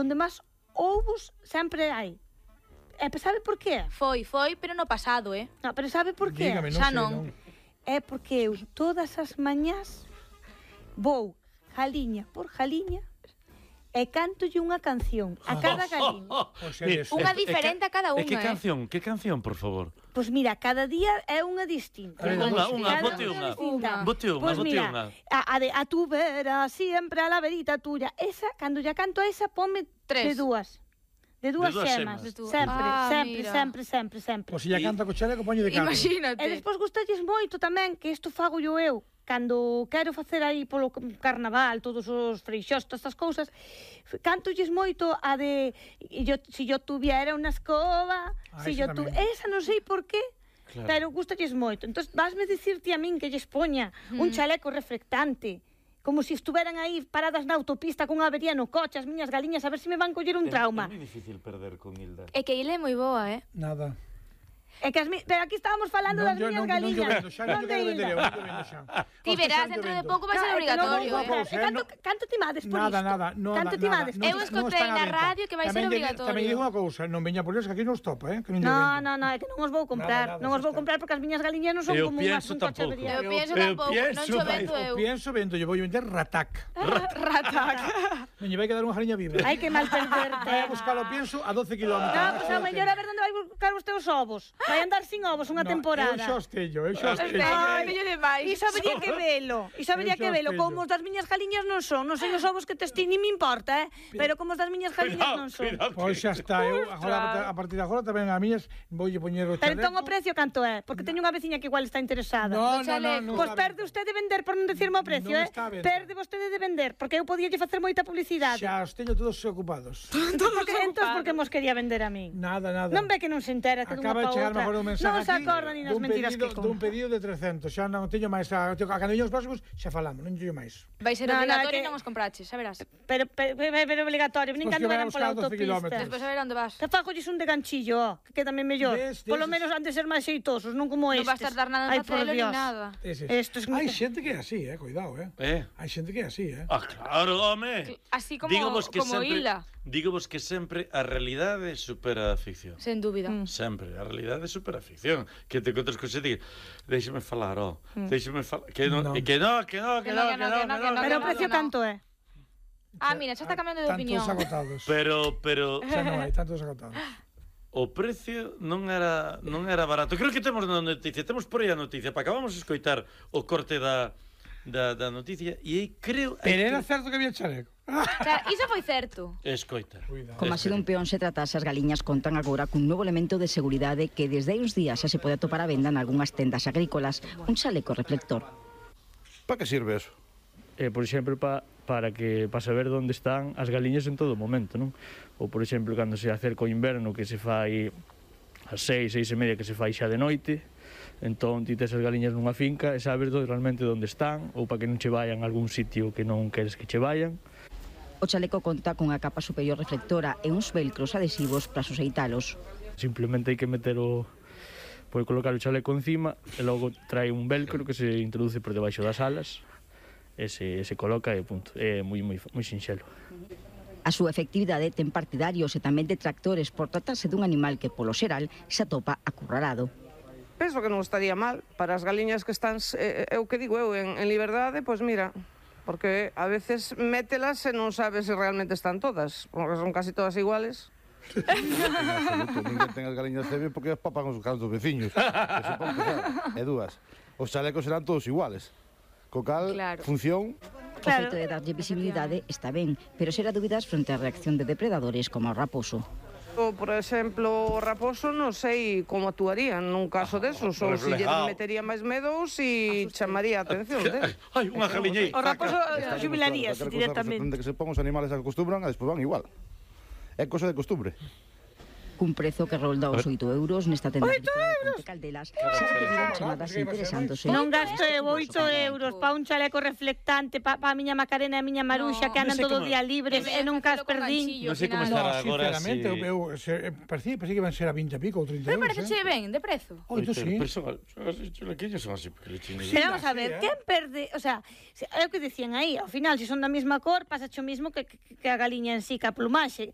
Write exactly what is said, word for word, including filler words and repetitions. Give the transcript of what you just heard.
onde máis ovos sempre hai. E sabe por qué? Foi, foi, pero no pasado, eh? No, pero sabe por qué? Dígame, non Xa sei, non. non. É porque eu todas as mañás vou jaliña por jaliña e cántolle unha canción a cada galiña. O sea, Mira, eso. Unha e- e diferente que- a cada E unha, que eh? canción? Que canción, por favor? Pois mira, cada día é unha distinta. A ver, Unha, Cada unha, Cada bote unha. distinta. Bote unha, Pois bote mira, unha. a, a de a tu vera, siempre a la verita tuya. Esa, cando ya canto esa, ponme Tres. de dúas. De dúas De dúas xemas. xemas. De dúas. Sempre, Ah, sempre, mira. sempre, sempre, sempre. Pois se ya canta co chaleco, poño de catro. Imagínate. E despois gustalles moito tamén, que isto fago yo eu, cando quero facer aí polo carnaval, todos os freixós, todas estas cousas, cantolles moito a de yo, si yo tuviera unha escoba, Ah, si esa yo tu... tamén. Esa non sei por qué, Claro. pero gustalles moito. Entón, vasme dicirte a min que lles poña un chaleco reflectante, como se si estuveran aí paradas na autopista cunha avería no coche, as miñas galiñas, a ver se me van coller un trauma. É moi difícil perder con Hilda. É que Ile é moi boa, eh? Nada. É que as mi... Pero aquí estábamos falando Non, das yo, miñas non, non yo galiñas. vendo, xa, non yo quero vender eu, non yo vendo xa. Ti Hostia, verás, xa, dentro yo de vendo. pouco vai ser Claro, é que non obrigatorio, vou eh? comprar. eh, E canto, no- canto ti mades por Nada, isto? nada, no, Canto nada, ti nada, mades? non- Eu non escoitei están á na venta. radio que vai ser Tamén lle- obrigatorio. Tamén lle digo unha cousa, non veña por Dios que aquí non os topa, eh, que non lle No, vendo. no, no, é que non os vou comprar. Nada, nada, Non os vou xa está. comprar porque as miñas galiñas non son Eu como unhas pienso un coche tampouco. averiado. Eu pienso Eu tampouco, non pienso, cho vai. vendo eu. O pienso, vendo, lle vou vender ratac. Ratac. Non lle vai quedar unha jaliña viva. Ai, que mal perderte. Vai a buscar o pienso a doce kilómetros. No, pois a mellor a ver onde vai buscar os teus ovos. Vai andar sin ovos unha temporada. Eu xa os teño, eu xa os teño. Ai, bello demais. Iso habería que velo, iso habería Eu que xa velo. teño. Como os das miñas galiñas non son, non sei os ovos que tes ti, ni me importa, eh? Pero como os das miñas galiñas non son. Pois xa está, eu agora, a partir de agora tamén a miñas voulle poñer o Pero chaleco. entón o precio canto é? Porque teño unha veciña que igual está interesada. No, no, no, chaleco. non Pois está perde ben. usted de vender por non decirme o precio, Non eh? está a venta. Perde vostede de vender, porque eu podía lle facer moita publicidade. Xa os teño todos ocupados. Porque entón porque mos quería vender a min. Nada, nada. Non ve que non se entera que dunha Acaba de pa chegar outra. mejor un mensaje Non se aquí acorda ni nas dun mentiras pedido, que con. dun pedido de trescentos. Xa non teño máis. A, a cando os próximos xa falamos, non teño máis. Vai ser No, no, obrigatorio que- e non os compraches, xa verás. Pero, pero, pero, pero obligatorio, nin Pois cando que vai veran a pola buscar doce autopista. kilómetros. Despois a ver onde vas. Te fago un de ganchillo, ó, que queda mellor. Des, des, Polo des. menos han de ser máis xeitosos, non como Non estes. vas tardar nada Ai, en por facelo ni Dios. nada. Ese. Estos... Hai xente que é así, eh, cuidado, eh. Eh? Hai xente que é así, eh. Ah, claro, home. Así como, Dígovos que como sempre, Hilda. dígovos que sempre a realidade supera a ficción. Sen dúbida. Mm. Sempre, a realidade supera a ficción. Que te encontras con xente que déixeme falar, ó, déixeme falar, que non, No. que no, que no, que no, que no, que no, que no, Pero o no, precio no. canto é? Ah, mira, xa está cambiando de Tantos opinión. agotados. Pero, pero Xa non hai tantos agotados. o precio non era non era barato. Creo que temos na noticia, temos por aí a noticia, para acabamos de escoitar o corte da da, da noticia e aí creo Pero era que... certo que había chaleco. Claro, iso foi certo. Escoita. Cuidado. Como a ser un peón se tratase, as galiñas contan agora cun novo elemento de seguridade que desde hai uns días xa se pode atopar a venda nalgúnas tendas agrícolas, un chaleco reflector. Para que sirve eso? eh, por exemplo, pa, para que para saber onde están as galiñas en todo momento, non? Ou, por exemplo, cando se acerca o inverno, que se fai ás seis, seis e media, que se fai xa de noite, entón ti tes as galiñas nunha finca e sabes do, realmente onde están, ou para que non che vayan a algún sitio que non queres que che vayan. O chaleco conta cunha capa superior reflectora e uns velcros adhesivos para suxeitalos. Simplemente hai que meter o... Pode colocar o chaleco encima e logo trae un velcro que se introduce por debaixo das alas e se, se coloca e punto. É moi, moi, moi sinxelo. A súa efectividade ten partidarios e tamén detractores por tratarse dun animal que, polo xeral, se atopa acurralado. Penso que non estaría mal para as galiñas que están, eh, é o que digo eu, en, en liberdade, pois mira, porque a veces mételas e non sabes se realmente están todas, porque son casi todas iguales. En absoluto, ninguén ten as galiñas cebe porque as papan os caros dos veciños. Eso para empezar. E dúas, os chalecos serán todos iguales. Co cal, Claro. función... O Claro. feito de darlle visibilidade está ben, pero xera dúbidas fronte á reacción de depredadores como o raposo. O, por exemplo, o raposo non sei como actuaría nun caso desos, ou se lle reflejado. metería máis medo ou se chamaría a atención de. Ai, unha galiña aí. O raposo Está jubilaríase demostrado que calquera cosa directamente. que se pon os animales acostumbran e despois van igual. É cosa de costumbre. Cun prezo que rolda os oito euros nesta tenda agrícola de Ponte Caldelas, xa recibiron chamadas interesándose. Non gasto eu oito euros pa un chaleco reflectante pa, pa a miña Macarena e a miña Maruxa No. que andan Non sei todo o como- día libres e nunca as perdín. Non sei como final. estará No, agora sinceramente, si... eu, eu se, parecía, parecía que iban a ser a vinte e pico ou trinta Pero euros, parece eh? ben, de prezo. Oito, sí. Pero son, son así, chulaquillos son así, porque le chiños. Pero vamos a Sí, ver, eh. quen perde, o sea, se- é o que dicían aí, ao final, se son da mesma cor, pasa o mismo que, que, que a galiña en sí, que a plumaxe.